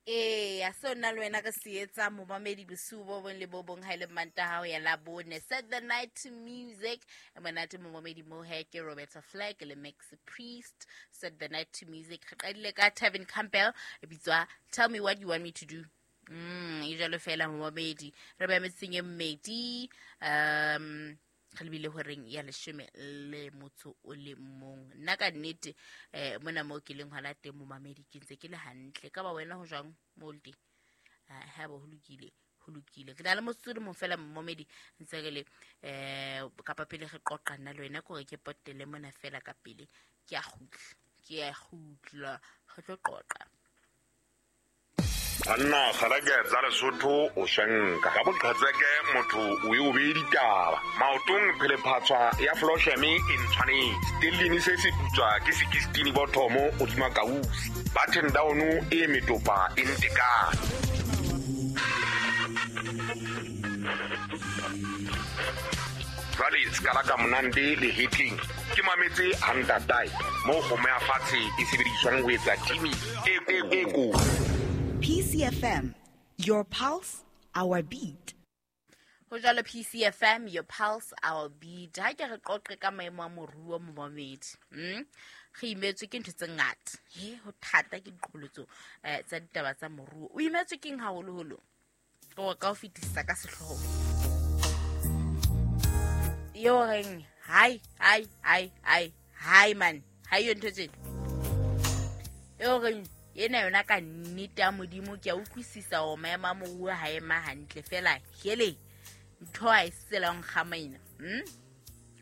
Eya, seo nna le wena re se etsang momamedi bosiu bo bong le bo bong ha e le Mantaha ho ya Labone. Set the night to music. E monate momamedi mo he ke Roberta Flack le Max Priest. Set the night to music. Re qadile ka Tevin Campbell e bitswa Tell Me What You Want Me to Do. E jalo fela momamedi. Re ba metseng e mmedi. Re lebile horeng ya leshome le motso o le mong. Nna ka nnete mona mo ke leng hona teng momamedi ke ntse ke le hantle. Ka ba wena ho jwang mo le teng? Ha bo ho lokile, ho lokile. Ke na le motsotso o le mong fela momamedi ntse re le kapa pele re qoqa nna le wena ke hore ke potele mona fela ka pele. Ke a kgutla, ke a kgutla, re tlo qoqa. Banna kgalake tsa Lesotho o swenka ka boqhetseke motho o e o beye ditaba maotong phelephatswa ya flosheme e ntshwanetse stellini se se putswa ke sekistini bothomo godima kausi button down e metopa e ntekane. Jwale se ka monande le hetleng ke mametse hantatae mo kgomo ya fatshe e sebediswang ho etsa timi e ko. PCFM, your pulse, our beat. Ho jwalo PCFM, your pulse, our beat. Ha ke re qoqe ka maemo a moruo momamedi. Re imetswe ke ntho tse ngata. He, ho thata ke diqholotso tsa ditaba tsa moruo. O imetswe keng haholoholo? O ka o fetisisa ka sehlooho. Yo reng, hai, hai, hai, hai, hai man. Hai yo ntho tsena. Yo reng, ena yona ka nnete ya Modimo ke a utlwisisa hore maemo a moruo ha ema hantle fela hele ntho ha e se tsela nkgamaina.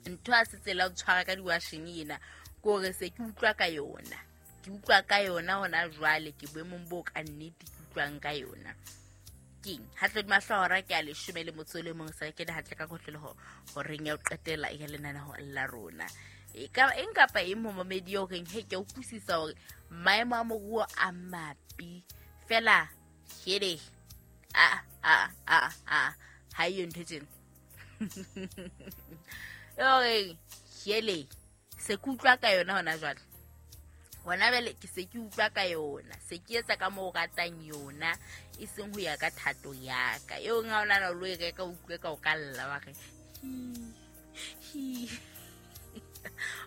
Ntho ha se tsela o tshwara ka diwasheng ena ke hore se ke utlwa ka yona. Ke utlwa ka yona hona jwale ke boemong bo ka nnete ke utlwang ka yona. Keng ha tlo mahlohora ke a leshome le motso le mong sa ke hantle ka kotloloho horeng ya ho qetela ya lenaneo la rona. E ka eng kapa eng momamedi eo reng he ke utlwisisa hore maemo a moruo a mapi fela hele a a a a ha iyo ntho tsena. Eo hele se ke utlwa ka yona hona jwale. Hona jwale ke se ke utlwa ka yona, se ke etsa ka moo o ratang yona, e seng ho ya ka thato ya ka. Eo nga o nahana o lo e reka, o utlwe ka o ka lla wa re, hi, hi.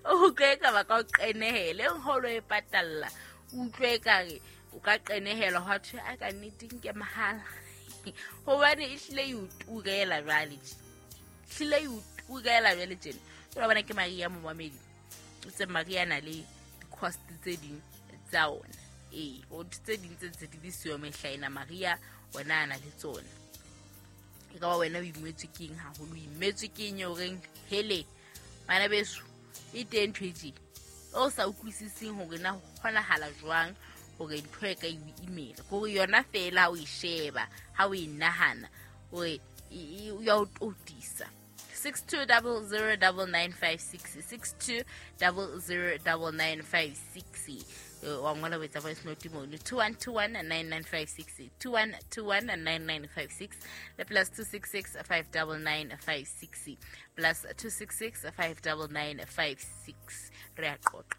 O utlwe ka ba ka o qenehele, eo ha o lo e patalla, o utlwe ka re o ka qenehelwa hwa thwe, a ka nnete nke mahala. Hobane e hlile e o turela jwale tje. Hlile e o turela jwale tjena. Jwale bona ke Maria momamedi. O tse Maria na le cost tse ding tsa ona. Ee, o tse ding tse ntse di le siyo mehlaena Maria ona a na le tsona. E ka ba wena o imetswe ke eng haholo, o imetswe ke eng eo reng hele bana beso e teng ntho e tje o sa utlwisiseng hore na ho kgonahala jwang hore ntho e ka e imela. Hore yona fela ha o e sheba, ha o e nahana hore e ya o totisa. 62009956, 62009956. Wa ngola o etsa voice note mono. 21219956, 21219956, le plus 266 59956, plus 266 59956. Re a qoqa.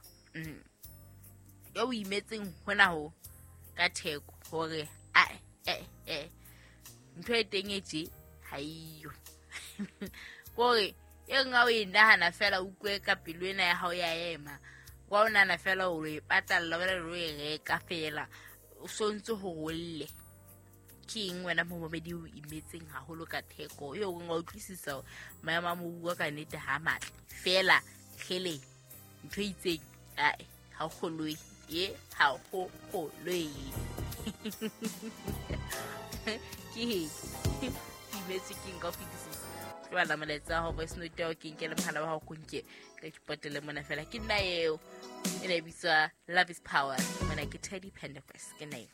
Yo o imetseng hona ho ka theko hore a ntho e teng e tje ha iyo. Kore e nngwe o e nahana fela o utlwe ka pelo ena ya hao ya ema. Kwa o nahana fela o e patalla, wena o e reka fela, o sontse ho rolle. Ke eng wena momamedi o imetseng haholo ka theko? Eo o nka utlwisisa hore maemo a moruo ka nnete ha matle. Fela kgele ntho e itseng, ae, ha o kgolwe. E, ha o kgolwe. Ke eng? Imetswe ke eng ka ho fetisisa? Tlohela molaetsa wa hao, voice note ya hao, ke nke le mohala wa hao, ko nke ka ke potele mona fela. Ke nna eo. E ne e bitswa Love is Power. Mona ke Teddy Pendergrass. Ke nna eo.